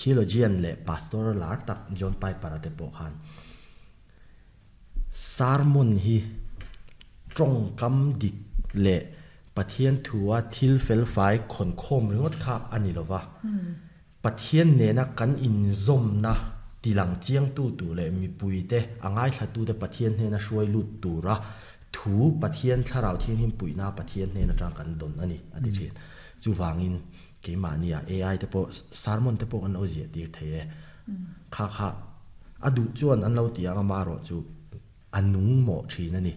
Theologian leh pastor lar tak John Piper-a te pawh khan sermon hi tawngkam dik leh Pathian thua thil felfai khawnkhawm ringawt kha a ni lova, Pathian nena kan inzawmna tilang chiangtu tur leh mipuite, a ngaithlatute Pathian hnena hruai lut tura thu Pathian Thlarau Thianghlim puihna Pathian hnen atang kan dawn a ni, a ti thin. Chuvangin keimahnia AI te pawh sermon te pawh kan lo ziah tir thei e. Kha kha a duh chuan an lo ti ang amaherawh chu a nung mawh thin a ni.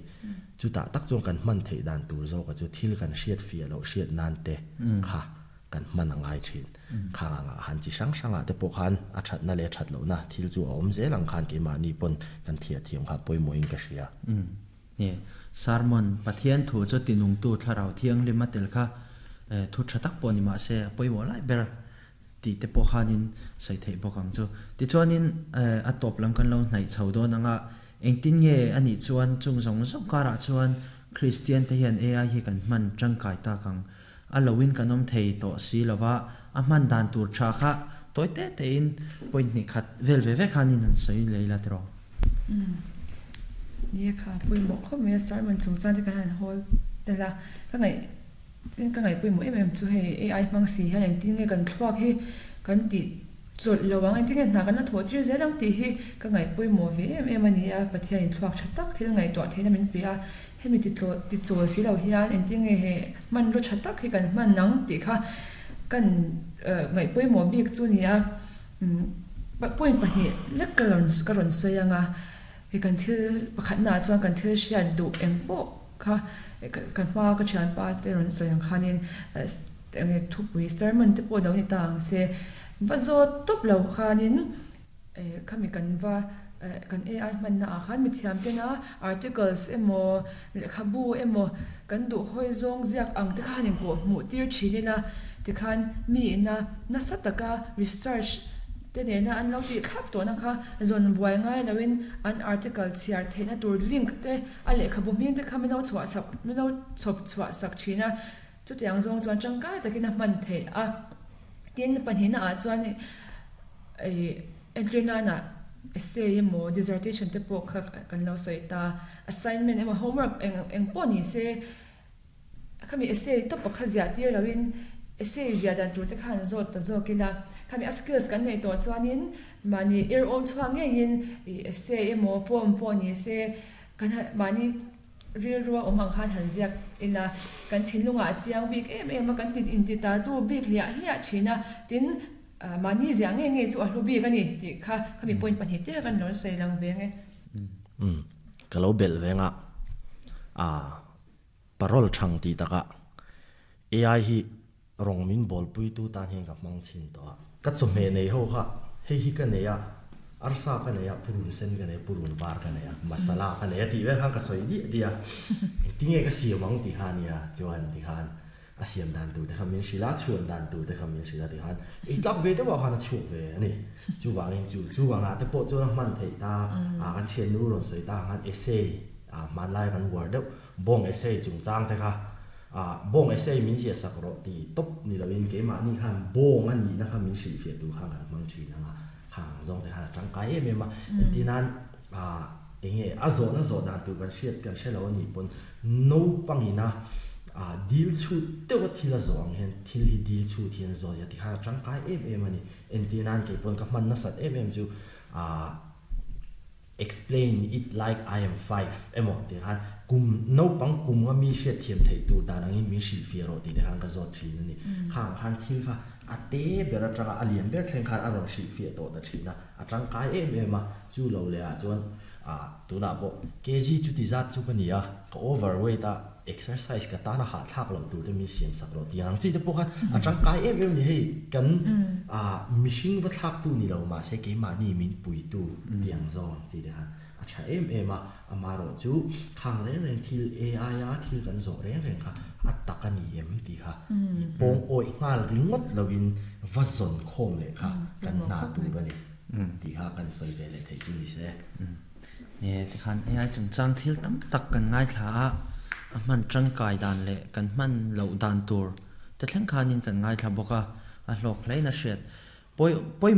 Chutah tak chuan kan hman theih dan tur zawka chu thil kan hriat fiah loh hriat nan te kha kan hman a ngai thin. Khang angah han chi hrang hrangah te pawh khan a thatna leh a that lohna thil chu a awm zel ang khan keimahni pawn kan thliah thiam kha pawimawhin ka hria. Nge, sermon, Pathian thu chu tinungtu Thlarau Thianghlim a tel kha thu tha tak pawh ni mahse a pawimawh lai ber tih te pawh khanin sawi theih bawk ang chu. Tichuanin a tawp lam kan lo hnaih chho dawn anga engtin nge a nih chuan chung zawng zawng karah chuan Kristian te hian AI hi kan hman tangkai tak ang. A loin kan awm thei tawh si lova, a hman dan tur tha kha tawi te tein point hnih khat vel ve ve khanin han sawi lei la tiraw. Umm. Nia kha pawimawh khawp mai a, sermon chungchang te kan han hawl tel a, ka ngaih ka ngaih pawimawh em em chu hei AI hmang si hian engtin nge kan thluak hi kan tih chawlh lo ang, engtin nge hna kan la thawh tir zel ang tih hi ka ngaih pawimawh ve em em a ni a, Pathianin thluak tha tak thil ngaihtuah theihna min pe a, Hemi tichawl si lo hian engtin nge he hmanraw tha tak hi kan hman ang tih kha kan ngaih pawimawh bik chu ni a. Point pahnih lek ka rawn ka rawn sawi ang a, hei kan thil pakhatnaah chuan kan thil hriat duh eng pawh kha ka hmaa ka thianpa te rawn sawi ang khanin eng nge thupui sermon te pawh lo ni ta ang se va zawt tawp lo khanin Khami kan va kan AI hmanna ah khan mithiam tena articles emaw lehkhabu emaw kan duh hawi zawng ziak ang te khan inkawh hmuh tir thin ila tikhan mi ina nasa taka research te nena an lo tih thlap tawhna kha zawn buai ngai loin an article chhiar theihna tur link te a lehkhabu hming te kha min lo chhuah sak min lo chhawp chhuah sak thin a chutiang zawng chuan tangkai takin a hman theih a. Tin, pahnihna ah chuan ih entir nana essay emaw dissertation te pawh kha kan lo sawi ta, assignment emaw homework eng eng pawh ni se khami essay tawp pakhat ziah tir loin essay ziah dan tur te khan zawt ta zawk ila, khami a skills kan neih tawh chuanin mahni ir awm chhuak ngeiin ih essay emaw poem pawh ni se kan mahni Rilrua awm ang khan han ziak ila, kan thinlungah a chiang bik em em a, kan ti inti ta tu bik hliah hliah thin a, tin, mahni ziah ngei ngei chu a hlu bik a ni tih kha khami point pahnih te kan rawn sawi lang ve nge. Umm, ka lo belh veng a, a parole thang tih takah AI hi rawng min bawlpuitu tan hian ka hmang chhin tawh a. Ka chawhmeh nei ho kha hei hi ka nei a, arsa ka nei a, purun sen ka nei a, purun var ka nei a, masala ka nei a tih vel khan ka sawi diah diah a, engtinge ka siam ang tih kha a nia, chuan tikhan a siam dan tur te kha min hrilh a, a chhuan dan tur te kha min hrilh a tikhan ei tlak ve deuh ah khan a chhuak ve a ni. Chuvangin chu chuvangah te pawh chuan a hman theih ta a, kan thiannu rawn sawi ta ang khan essay ah hmanlai kan uar deuh Bawng essay chungchang te kha ah bawng essay min ziah sak rawh tih tawp ni loin keimahni khan bawng a nihna kha min hrilhfiah tur khan kan hmang thin ang a, khang ang zawng te khan a tangkai em em a. Engtin nan ah enge a zawhna zawh dan tur kan hriat kan hre lo a nih pawn naupangina ah dil chhut deuha thil a zawh ang hian thil hi dil chhut hian zawh a ti khan a tangkai em em a ni. Entir nan keipawn ka hman nasat em em chu ah Explain it like I am five emaw tih khan kum naupang kum nga mi hriatthiam theih tur dan angin min hrilhfiah rawh tih te khan ka zawt thin a ni. Khang khan thil kha a te ber atanga a lian ber thleng khan a rawn hrilhfiah tawh ta thin a, a tangkai em em a, chu lo leh ah chuan ah tunah pawh kg chuti zat chu ka ni a, ka overweight a, exercise ka tana hahthlak loh tur te min siam sak rawh tih ang chi te pawh khan a tangkai em em ni hei kan ah mihring va thlak tu ni lo mahse keimahni min pui tu tih ang zawng ang chi te khan a tha em em a, amaherawh chu khang reng reng thil AI a thil kan zawh reng reng kha a tak a ni em tih kha i pawng awih nghal ringawt lovin va zawn khawm leh kha kan hna tur a ni tih kha kan sawi ve leh theih chu ni se. Nge tikhan AI chungchang thil tam tak kan ngaithla a, a hman tangkai dan leh kan hman loh dan tur te thleng khanin kan ngaithla bawk a, a hlawk hlein a hriat. Pawi.